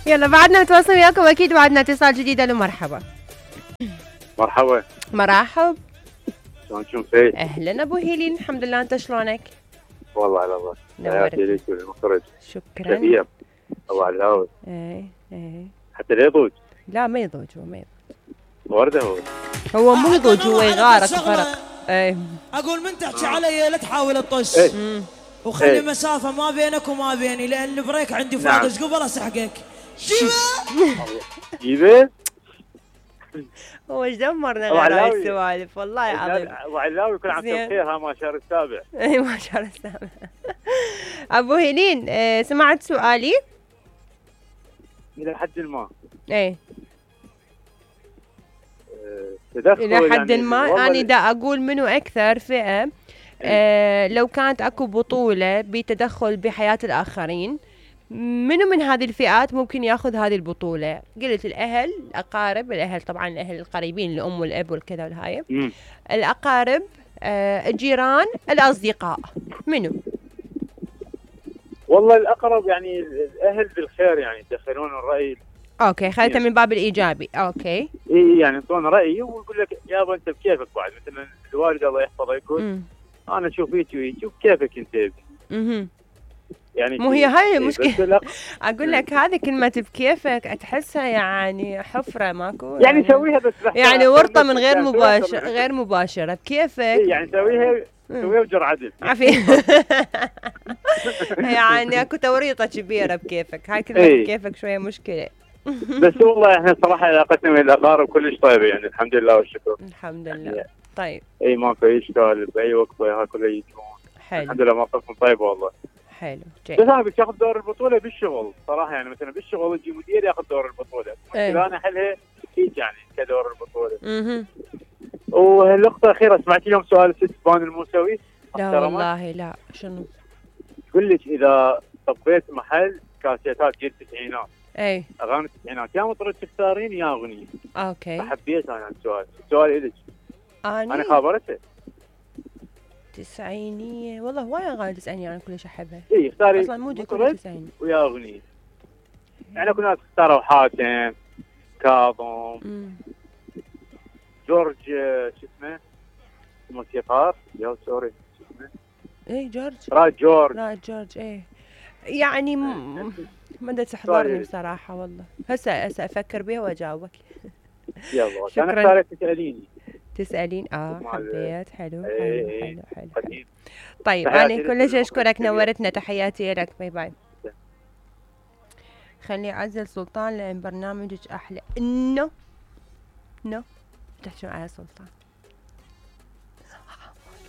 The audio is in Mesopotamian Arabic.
يلا بعدنا نتواصل وياكم اكيد، بعدنا اتصال جديد. الو مرحبا. مرحبا. مرحب. شلون فيك؟ اهلا ابو هيلين، الحمد لله، انت شلونك؟ والله على الله. نورت. ليك والمخرج. شكرا. كثير. الله على ايه حتى لا يضوج. لا ما يضوج، هو ما يضوج. ورده هو مو يضوج، هو يغارق فرق. ايه اقول من تحكي علي لا تحاول تطش. وخلي مسافه ما بينك وما بيني، لان البريك عندي فاضي. ايش قبل اسحقك؟ جيبه. هو ايش دمرنا غير هاي السوالف، والله العظيم. ابو علاوي كل عام بخير. ها ما شهر السابع. اي ما شهر السابع. ابو هيلين، سمعت سؤالي؟ الى حد ما. ايه تدخل الى حد يعني ما. انا دا اقول منو اكثر فئة لو كانت اكو بطولة بتدخل بحياة الاخرين، منو من هذه الفئات ممكن ياخذ هذه البطولة؟ قلت الاهل، الاقارب، الاهل طبعا الاهل القريبين، الام والاب والكذا والهاي، الاقارب، الجيران، الاصدقاء، منو؟ والله الاقرب يعني الاهل بالخير، يعني يدخلون الراي. اوكي خليتها من باب الايجابي. اوكي اي يعني يعطون راي ويقول لك يابا انت بكيفك. بعد مثلا الوالد الله يحفظه يقول انا اشوف هيك وهيك وبكيفك انت. يعني مو هي هاي المشكلة. اقول لك هذه كلمة بكيفك تحسها يعني حفرة ماكو، يعني سويها بس يعني ورطة من غير مباشرة بكيفك. يعني سويها بجر عدل. عافية. يعني اكو توريطة كبيرة بكيفك، هاي كلمة بكيفك شوية مشكلة. بس والله احنا صراحة علاقتنا مع الاقارب كلش طيبة، يعني الحمد لله والشكر. الحمد لله. طيب اي ماكو اي اشكال باي وقت ها كله يجون. حلو الحمد لله موقفهم طيب والله. حلو بس انا بدي اخذ دور البطوله بالشغل صراحه، يعني مثلا بالشغل يجي مدير ياخذ دور البطوله. انا احلها هيك يعني كدور البطوله. والنقطه الاخيره، سمعتي اليوم سؤال الست بان الموسوي؟ لا والله لا. شنو؟ تقول لك اذا طبيت محل كاسيتات جيل التسعينات، اي اغاني التسعينات، يا مطرب تختارين يا اغنيه. اوكي فحبيت انا السؤال الك. انا خابرته تسعينية، والله هواي اغاني تسعينية انا كلش احبها. اي اختاري اصلا مودي كله تسعيني ويا اغنية. يعني اكو ناس اختاروا حاتم، كاظم، جورج شو اسمه الموسيقار، يا سوري شو اسمه؟ اي جورج. راد جورج ايه يعني ما بدها تحضرني بصراحة والله. هسه افكر بيها واجاوبك. يلا انا اختاريت تسألين. حبيت. حلو. طيب انا كلش اشكرك، نورتنا، تحياتي لك. باي باي. خلي اعزل سلطان لان برنامجك احلى. انه تحكي على سلطان.